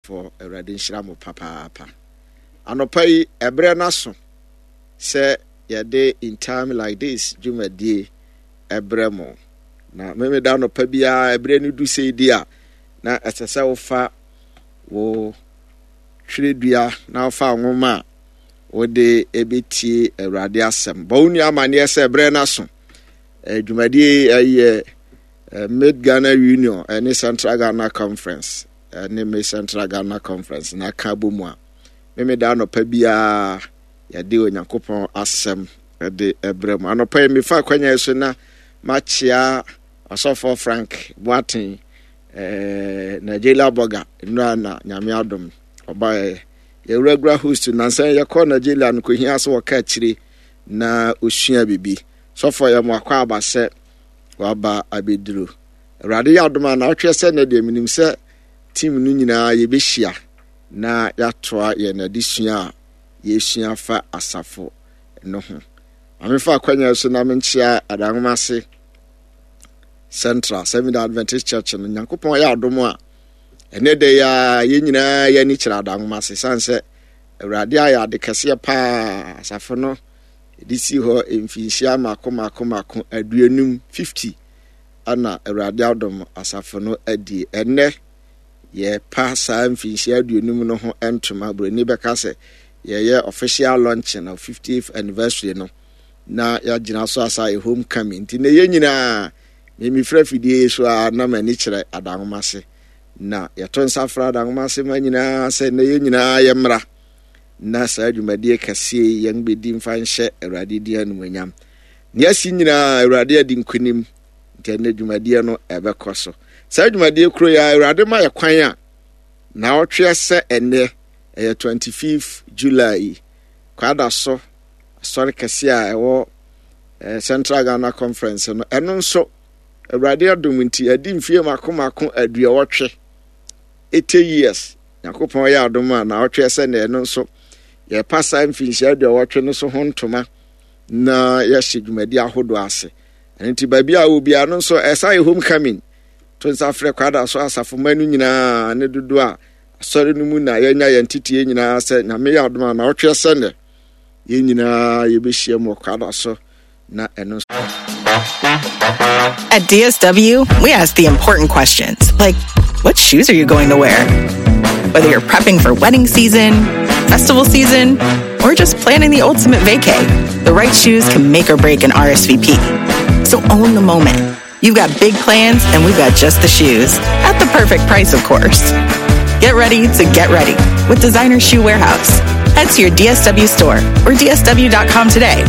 Foɔ, Awurade nhyira mo papaapa. Anɔpa yi, ɛberɛ no aso sɛ yɛde In Time Like This dwumadie ɛbrɛ mo. Na memeda anɔpa biara ɛberɛ no du sei di a, na ɛsɛ sɛ wofa wo twerɛdua na wofa nwoma a wode ɛbɛtie Awurade asɛm. Bɔ wo nua amanneɛ sɛ ɛberɛ no aso. Dwumadie ɛyɛ Mid Ghana Union ɛne Central Ghana Conference ne me Central Ghana Conference na aka abɔ mu a, Memeda anɔpa biara yɛde Onyankopɔn asɛm de brɛ mu. Anɔpa yi mefa akwanya yi so na makyea ɔsɔfoɔ Frank Boateng, eh, Nigeria Burger, nnura na Nyame adom ɔbaeɛ. Yɛwura host nansa yɛkɔ Nigeria no kɔhia sɛ wɔka akyire na ɔsua biribi. Sɔfoɔ yɛ mo akɔ aba sɛ waba abɛduru. Awurade yɛ adom a naawɔtweɛ sɛ nnɛ deɛ menim sɛ team no nyinaa yɛbɛhyia na yɛatoa yɛn adesua a yɛsua fa asafo no ho. Ma memfa akwanya so na menkyea Adanwoma ase Central Seventh Adventist Church no. Nyankopɔn yɛ adom a ɛnɛ da yi a yɛn nyinaa yɛn ani kyerɛ Adanwoma ase sane sɛ Awurade ayɛ ade kɛseɛ paa asafo no de si hɔ mfinhyia mako mako mako 50, 50 na Awurade adom asafo no adi. Ɛnnɛ, yɛrepa saa mfinhyia 50 no ho ntoma. Buroni bɛka sɛ yɛyɛ official launching of 50th anniversary no na yɛagyina so asa yɛ homecoming. Nti na yɛn nyinaa memefira fidie yi so a na m'ani kyerɛ Adanwoma ase. Na yɛto nsa frɛ Adanwoma ase ma nyinaa sɛ na yɛn nyinaa yɛmmra na saa dwumadie kɛseɛ yi yɛn bɛdi mfa nhyɛ Awurade din animuonyam. Nea asi nyinaa, Awurade adi nkonim, nti ɛnɛ dwumadie no ɛbɛkɔ so. Saa dwumadie kuro yi a Awurade ma yɛ kwan a naawɔtweɛ sɛ ɛnɛ ɛyɛ 25 July yi, kwada so asɔre kɛseɛ a ɛwɔ eh, Central Ghana Conference no, ɛno nso Awurade adom nti ɛdi mfie mako mako 80, 80 years. Nyankopɔn yɛ adom a naawɔtweɛ sɛ nɛ ɛno nso yɛpa saa mfinhyia 80 no so ho ntoma na yɛhyɛ dwumadi ahodoɔ ase. Ɛno nti baabi a wɔ biara no nso ɛsa yɛ homecoming. To nsa frɛ Kwada so asafo mma no nyinaa ne dodoɔ a asɔre no mu na yɛanya yɛn teteɛ nyinaa sɛ Nyame yɛ adom a na ɔtweɛ sɛ nnɛ yɛn nyinaa yɛbɛhyia mu wɔ Kwada so na ɛno nso. At DSW, we ask the important questions like what shoes are you going to wear? Whether you're prepping for wedding season, festival season, or just planning the ultimate vacay, the right shoes can make or break an RSVP. So own the moment. You've got big plans, and we've got just the shoes. At the perfect price, of course. Get ready to get ready with Designer Shoe Warehouse. Head to your DSW store or DSW.com today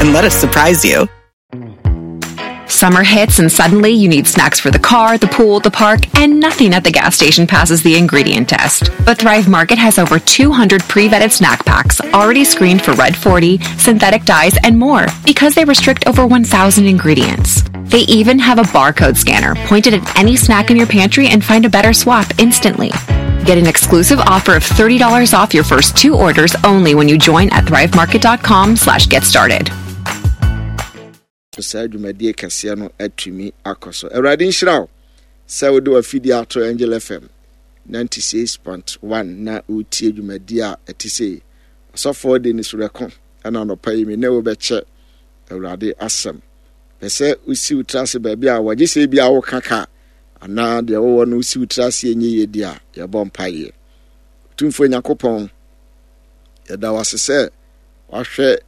and let us surprise you. Summer hits and suddenly you need snacks for the car, the pool, the park, and nothing at the gas station passes the ingredient test. But Thrive Market has over 200 pre-vetted snack packs already screened for Red 40, synthetic dyes, and more because they restrict over 1,000 ingredients. They even have a barcode scanner pointed at any snack in your pantry and find a better swap instantly. Get an exclusive offer of $30 off your first two orders only when you join at thrivemarket.com/get started. Saa dwumadie kɛseɛ no atumi akɔ so. Awurade nhyira wo sɛ wode w'afidie ato Angel FM 96.1 na wotie dwumadie a ɛte sei. Ɔsɔfoɔ Dennis Rɛko ɛna anɔpa yi me ne wo bɛkyɛ Awurade asɛm. Pɛ sɛ wosi wo tiri ase baabi a wɔgye sɛ bi a woka ka anaa deɛ wowɔ no wosi wo tiri ase ɛnyɛ yie di a yɛbɔ mpaeɛ. Otumfoɔ Nyankopɔn, yɛda wo ase sɛ wahwɛ.